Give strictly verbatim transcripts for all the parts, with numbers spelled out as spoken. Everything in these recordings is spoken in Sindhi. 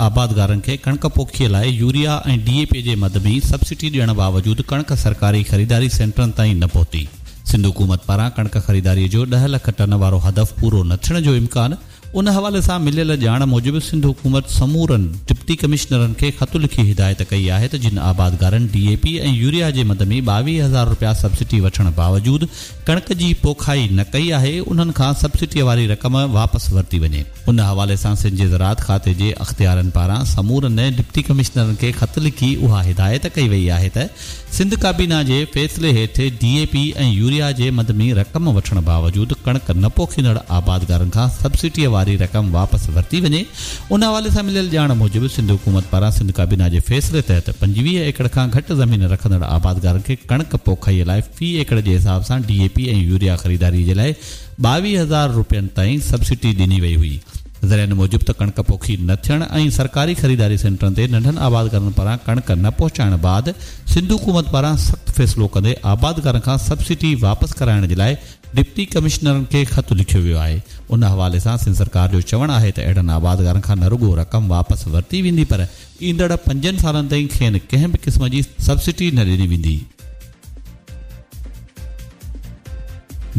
آبادگارن کي ڪڻڪ پوکيءَ لاءِ يوريا ۽ ڊي اي پي جي مد ۾ سبسڊي ڏيڻ باوجود ڪڻڪ سرڪاري خريداري سينٽرن تائين نه پهتي. سنڌ حڪومت پاران ڪڻڪ خريداري جو ڏهه لک ٽن وارو هدف پورو نه ٿيڻ جو امڪان. ان حوالي سان مليل ڄاڻ موجب سنڌ حڪومت سمورن ڊپٽي ڪمشنرن کي خط لکي هدايت ڪئي آهي ته جن آبادگارن ڊي اي پي ۽ يوريا جي مد ۾ ٻاويهه هزار رپيا سبسڊي وٺڻ باوجود ڪڻڪ جي پوکائي نه ڪئي آهي، انهن کان سبسڊي واري رقم واپس ورتي وڃي. ان حوالي سان سنڌ جي زراعت کاتي جي اختيارن پاران سمورن ڊپٽي ڪمشنرن کي خط لکي اها هدايت ڪئي وئي آهي ته سنڌ ڪابينا جي فيصلي هيٺ ڊي اي پي ۽ يوريا جي مد ۾ رقم وٺڻ باوجود ڪڻڪ نه پوکيندڙ آبادگارن کان سبسڊي واري رقم واپس ورتي وڃي. ان حوالي سان مليل ڄاڻ موجب سنڌ حڪومت پاران سنڌ ڪابينا جي فيصلي تحت پنجويهه ايڪڙ کان گهٽ زمين رکندڙ آبادگارن کي ڪڻڪ پوکائي لاءِ في ايڪڙ جي حساب سان ڊي اي پي ۽ يوريا خريداري جي لاءِ ٻاويهه هزار رپين تائين سبسڊي ڏني وئي هئي. ذريعن موجب ته ڪڻڪ پوکي نه ٿيڻ ۽ سرڪاري خريداري سينٽرن تي ننڍن آبادگارن پاران ڪڻڪ نه پهچائڻ بعد سنڌ حڪومت پاران سخت فيصلو ڪندي آبادگارن کان سبسڊي واپس ڪرائڻ جي لاءِ ڊپٽي ڪمشنرن کي خط لکيو ويو آهي. ان حوالي سان سنڌ سرڪار جو چوڻ آهي ته اهڙن آبادگارن کان نه رڳو رقم واپس ورتي ويندي پر ايندڙ پنجن سالن تائين کين ڪنهن به قسم جي سبسڊي نه ڏني ويندي.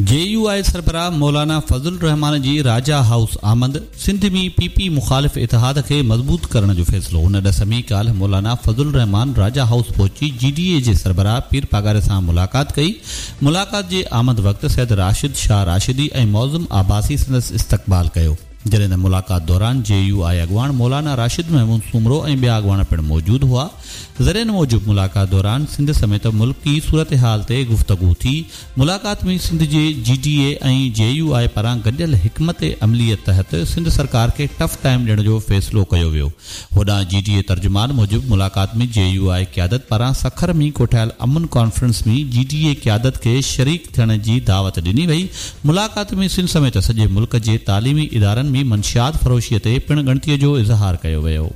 جي يو آءِ سربراهه مولانا فضل الرحمان جي راجا هائوس آمد، سنڌ ۾ پي پي مخالف اتحاد کي مضبوط ڪرڻ جو فيصلو. ان ڏس ۾ ڪالهه مولانا فضل الرحمان راجا هائوس پهچي جي ڊي اي جي سربراهه پير پاڳاري سان ملاقات ڪئي. ملاقات جي آمد وقت سيد راشد شاهه راشدي ۽ معظم عباسي سندس استقبال ڪيو. جڏهن ته ملاقات دوران جي يو آءِ اڳواڻ مولانا راشد محمود سومرو ۽ ٻيا اڳواڻ پڻ موجود هئا. ذريعن موجب ملاقات دوران سنڌ سميت ملڪي صورتحال تي گفتگو ٿي. ملاقات ۾ سنڌ جي جي ڊي اي ۽ جي يو آءِ پاران گڏيل حڪمت عملي تحت سنڌ سرڪار کي ٽف ٽائيم ڏيڻ جو فيصلو ڪيو ويو. هوڏانهن جي ڊي اي ترجمان موجب ملاقات ۾ جي يو آءِ قيادت پاران سکر ۾ ڪوٺايل امن ڪانفرنس ۾ جي ڊي اي قيادت کي شريڪ ٿيڻ جي دعوت ڏني وئي. ملاقات ۾ سنڌ سميت سڄي ملڪ جي تعليمي ادارن ۾ منشيات فروشي تي پڻ ڳڻتي جو اظهار ڪيو ويو.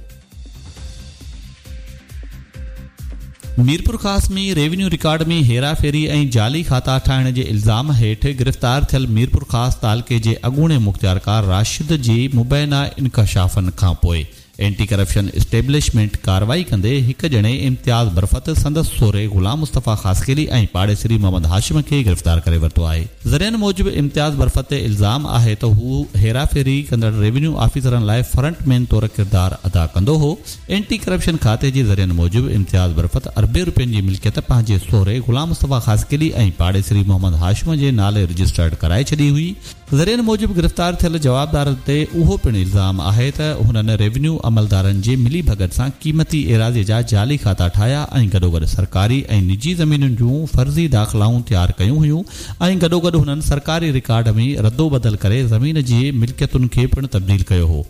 ميرپورخاص ۾ ريونيو رڪارڊ ۾ هيراڦيري ۽ جعلي کاتا ٺاهڻ جي الزام هيٺ گرفتار ٿيل ميرپورخاص تعلقي جي اڳوڻي مختيارڪار راشد جي مبينا انڪشافن کان پوءِ اينٽي ڪرپشن اسٽيبلشمينٽ ڪارروائي ڪندي هڪ ڄڻي امتياز برفت، سندس سهري غلام مصطفيٰ خاصخيلي ۽ پاڙيسري محمد هاشم کي گرفتار ڪري ورتو آهي. ذريعن موجب امتياز برفت تي الزام آهي ته هو هيراڦيري ڪندڙ ريونيو آفيسرن لاءِ فرنٽ مين طور ڪردار ادا ڪندو هو. اينٽي ڪرپشن کاتي جي ذريعن موجب امتياز برفت اربين رپين جي ملڪيت پنهنجي سهري غلام مصطفيٰ خاصخيلي ۽ پاڙيسري محمد هاشم جي نالي رجسٽرڊ ڪرائي ڇڏي هئي. ذريعن موجب گرفتار ٿيل جوابدارن تي اهو پڻ الزام آهي ته هنن ريونيو عملدارن جي ملي ڀڳت سان قيمتي ايراضي جا جعلي کاتا ٺاهيا ۽ گڏوگڏ سرڪاري ۽ نجي زمينن جون فرضي داخلائون تيار ڪيون هيون ۽ گڏوگڏ هنن سرڪاري رڪارڊ ۾ ردوبدل ڪري زمين جي ملڪيتن کي پڻ تبديل ڪيو هو.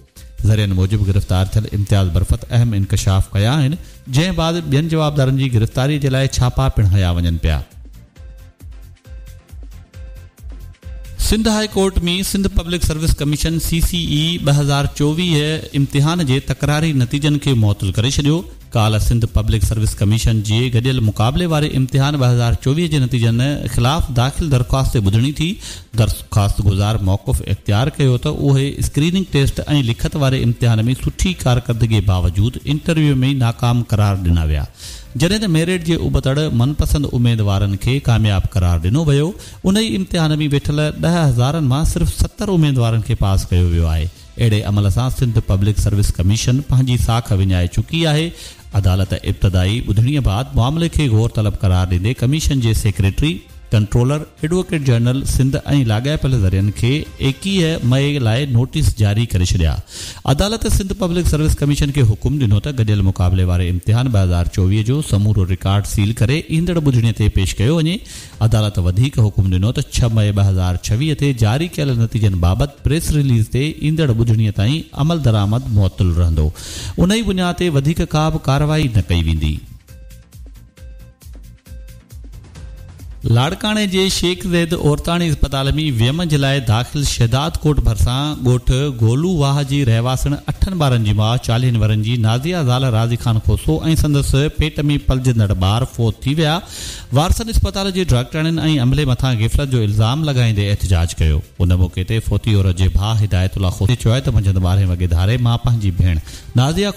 ذريعن موجب گرفتار ٿيل امتياز برفت اهم انڪشاف ڪيا آهن، جنهن بعد ٻين جوابدارن جي گرفتاري جي لاءِ ڇاپا پڻ هنيا وڃن پيا. Sindh high court ۾ Sindh public service commission C C اي ٻه هزار چوويهه امتحان جي تڪراري نتيجن کي معطل ڪري ڇڏيو. ڪالهه سنڌ پبلڪ سروس ڪميشن جي گڏيل مقابلي واري امتحان ٻه هزار چوويهه جي نتيجن خلاف داخل درخواست تي ٻڌڻي ٿي. درخواست گذار موقف اختيار ڪيو ته اهي اسڪريننگ ٽيسٽ ۽ لکت واري امتحان ۾ سٺي ڪارڪردگي باوجود انٽرويو ۾ ناڪام قرار ڏنا ويا، جڏهن ته ميرٽ جي ابتڙ من پسند اميدوارن کي ڪامياب قرار ڏنو ويو. ان ئي امتحان ۾ ويٺل ڏهه هزارن مان صرف ستر اميدوارن کي پاس ڪيو ويو آهي. اهڙي عمل سان سنڌ پبلڪ سروس ڪميشن پنهنجي ساک وڃائي چڪي آهي. عدالت ابتدائي ٻڌڻيءَ بعد معاملي کي غور طلب قرار ڏيندي ڪميشن جي secretary, controller, advocate general Sindh ۽ لاڳاپيل ذريعن کي ايڪويهه مئي لاءِ نوٽيس جاري ڪري ڇڏيا. عدالت سنڌ پبلڪ سروس ڪميشن کي حڪم ڏنو ته گڏيل مقابلي واري امتحان ٻه هزار چوويهه جو سمورو رڪارڊ سيل ڪري ايندڙ ٻڌڻيءَ تي پيش ڪيو وڃي. عدالت وڌيڪ حڪم ڏنو ته ڇهه مئي ٻه هزار ڇويهه تي جاري ڪيل نتيجن بابت پريس رليز تي ايندڙ ٻڌڻيءَ تائين عمل درآمد معطل رهندو. ان ئي بنياد تي وڌيڪ ڪا به ڪارروائي نه ڪئي ويندي. لاڙڪاڻي جي شيخ زيد عورتاڻي اسپتال ۾ ويم جي لاءِ داخل شهداد ڪوٽ ڀرسان ڳوٺ گولو واهه جي رهواسڻ اٺن ٻارن جي ماءُ چاليهن ورهين جي نازيا زال راضي خان کوسو ۽ سندس پيٽ ۾ پلجندڙ ٻار فوت ٿي ويا. وارثن اسپتال جي ڊاڪٽرن ۽ عملي مٿان غفلت جو الزام لڳائيندي احتجاج ڪيو. ان موقعي تي فوتي عورت جي ڀاءُ هدايت الله کوسي چيو ته منجهند ٻارهين وڳي ڌاري مان پنهنجي ڀيڻ نازيا